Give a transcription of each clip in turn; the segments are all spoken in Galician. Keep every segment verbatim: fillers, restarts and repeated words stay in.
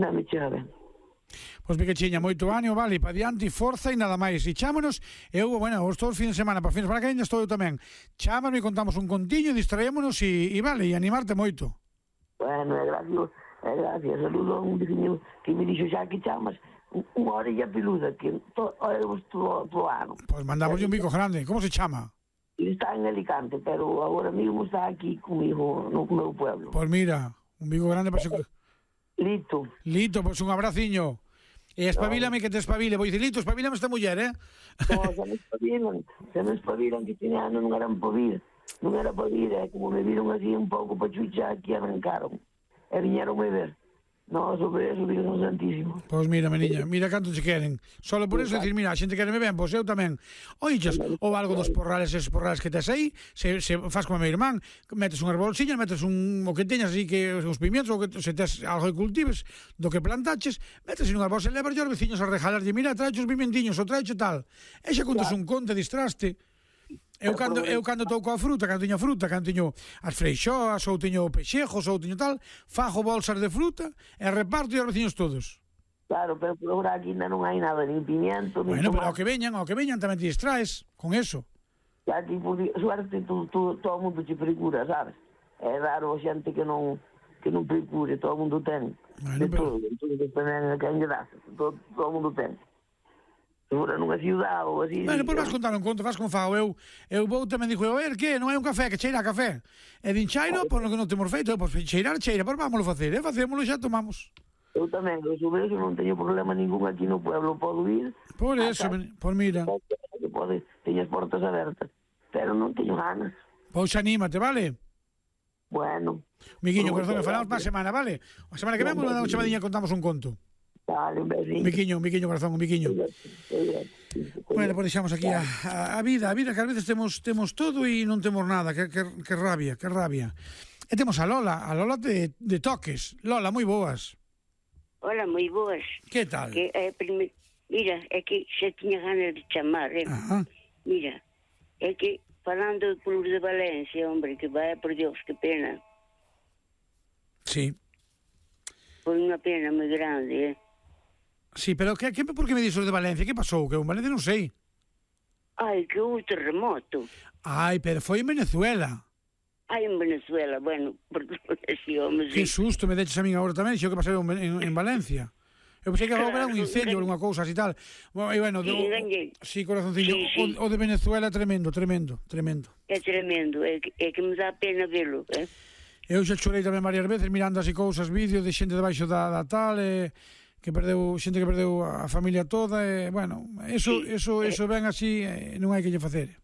Non me chega ben. Pois que chiña, moito ánimo, vale, para diante, forza e nada máis. E chámonos, eu, bueno, os todos os fin de semana, para fin de semana que ainda estou eu tamén. Chámanos e contamos un contiño, distraémonos e, e vale, e animarte moito. Bueno, é gracias, é gracias. Saludo a un veciño que me dixo xa que chamas unha orella peluda, que to, oemos todo o ano. Pois mandamos un bico grande. Como se chama? Ele está en Alicante, pero agora mesmo está aquí comigo no meu pueblo. Pois mira, un bico grande para ser... Lito. Lito, pois un abraciño. E espabilame que te espabile. Vou dicir, Lito, espabilame esta muller, eh? No, se me espabilan, se me espabilan que tiene ano non eran por vir. Non era por vir, é como me viron así un pouco pachucha que arrancaron. E viñeron me ver. No, sobre eso, Virgen Santísimo. Pois mira, meniña, mira canto te queren. Solo por eso dicir, mira, a xente quereme ben, pois eu tamén. Oiches, ou algo dos porrales, esos porrales que tes aí, se, se faz como a meu irmán, metes unha bolsiña, metes un, o que teñas así, que os pimientos, ou que se tes algo que cultives, do que plantaches, metes en unha bolsa e levas os veciños a rejalarlle, mira, traeche os pimentiños, ou traeche tal. E xa contas un conto, distraste. Eu cando, eu cando estou coa fruta, cando teño fruta, cando teño as freixoas, ou teño pexejos, ou teño tal, fajo bolsas de fruta e reparto aos veciños todos. Claro, pero por agora aquí non hai nada, nin pimiento, nin bueno, tomate. Pero ao que veñan, ao que veñan tamén te distraes con eso. E aquí, por suerte, tú, tú, todo o mundo te procura, sabes? É raro a xente que non que non procure, todo o mundo ten. Bueno, de pero... todo, entón, dependen de quen lle das, todo, todo o mundo ten. Segura nunha ciudad ou así. Bueno, pois vas contar un conto, vas como fago eu. Eu vou tamén dixo, a ver, que non hai un café, que cheira a café. E din chairo, por lo que non temos feito, pois cheirar, cheira, pois vámoslo facer, eh? Facémoslo e xa tomamos. Eu tamén, eu sobre eso non teño problema ningún aquí no pueblo, podo ir. Por eso, men... por mira. Pode, teño as portas abertas, pero non teño ganas. Pois anímate, vale? Bueno. Miguiño, corazón, que falamos para a semana, vale? A semana que vemos, unha chamadinha contamos un conto. Dale, un besito. Un biquiño, un biquiño, corazón, un biquiño. Bueno, pois deixamos aquí a, a, a vida, a vida que ás veces temos temos todo e non temos nada, que, que, que rabia, que rabia. E temos a Lola, a Lola de, de Toques. Lola, moi boas. Hola, moi boas. Que tal? Que, eh, prime... Mira, é que xa tiña ganas de chamar, eh? Ajá. Mira, é que falando do Club de Valencia, hombre, que vai, por Dios, que pena. Sí. Foi unha pena moi grande, eh? Sí, pero que, que, por que me dixo de Valencia? Que pasou? Que en Valencia non sei. Ai, que houve terremoto. Ai, pero foi en Venezuela. Ai, en Venezuela, bueno, perdón, así, hombre, Que sí. susto me deches a min agora tamén, xo que pasou en, en, en Valencia. Eu pensei que agora era un incendio ou unha cousa así tal. Bueno, e bueno, Sí, do, engañei. sí, corazoncillo, Sí, sí. O, o de Venezuela é tremendo, tremendo, tremendo. É tremendo, é que, é que me dá pena velo, eh? Eu xa chorei tamén varias veces mirando así cousas, vídeos de xente debaixo da, da tal, e que perdeu, xente que perdeu a familia toda, e, bueno, eso, Sí, eso, eh. eso ven así, e non hai que lle facer.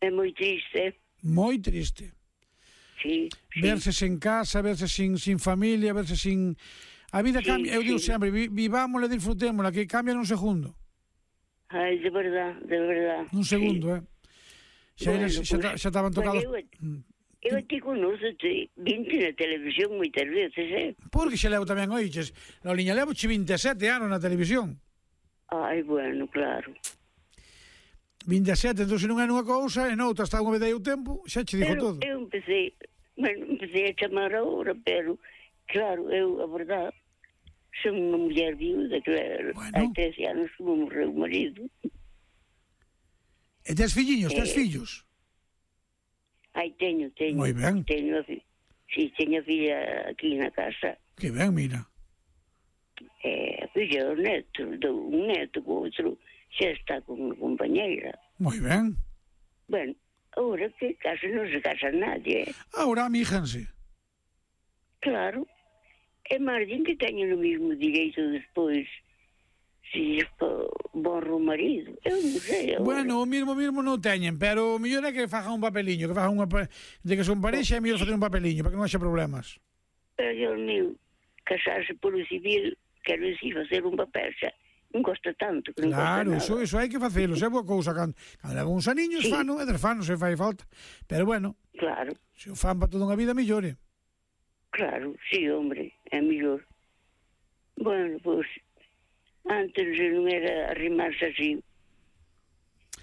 É moi triste, eh? Moi triste. Sí, sí. Verse sen casa, verse sin, sin familia, verse sin... A vida Sí, cambia, eu digo sí. sempre, vi, vivámosla, disfrutémosla, que cambia nun segundo. Ai, de verdad, de verdad. Nun segundo, eh. Xa, Bueno, eres, xa, pues, xa estaban tocados... Bueno, eu, eu te conozco, te, vinte na televisión moitas veces, eh? Porque xa levo tamén, oiches, Loliña, levo che vinte e sete anos na televisión. Ai, bueno, claro. vinte e sete, entón se non é nunha cousa, e noutra está unha vez aí o tempo, xa che dixo Pero todo. eu empecé, bueno, empecé a chamar ahora, pero, claro, eu, a verdade, son unha muller viuda, claro, Bueno. hai trece anos que me morreu o marido. E tes filliños, tes Eh, fillos? Ai, teño, teño. Moi ben. Teño a fi... Sí, teño a filla aquí na casa. Que ben, mira. E a filla do neto, do un neto, co outro, xa está con unha compañeira. Moi ben. Bueno, ahora que casi non se casa nadie, eh? Ahora amíjanse. Claro. É máis din que teñen o mesmo direito despois si borro o marido. Eu non sei. Ahora. Bueno, o mismo mismo non teñen, pero o mellor é que fajan un papeliño, que fajan unha pa... de que son parexa, é mellor facer un papeliño para que non haxa problemas. Pero, Dios mío, casarse por o civil, quero dicir, facer un papel xa, non costa tanto. Que non Claro, costa iso, iso hai que facelo, é boa cousa. Cando, cando levan uns aniños, Sí. fano, e desfano, se fai falta. Pero bueno, Claro, se o fan para toda unha vida, mellore. claro, sí, hombre, é mellor. Bueno, pois, antes non era arrimarse así.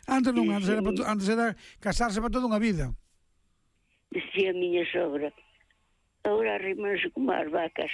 Antes non, Sí, antes sí. era, para to- antes era casarse para toda unha vida. Decía a miña sogra. Agora arrimarse como as vacas.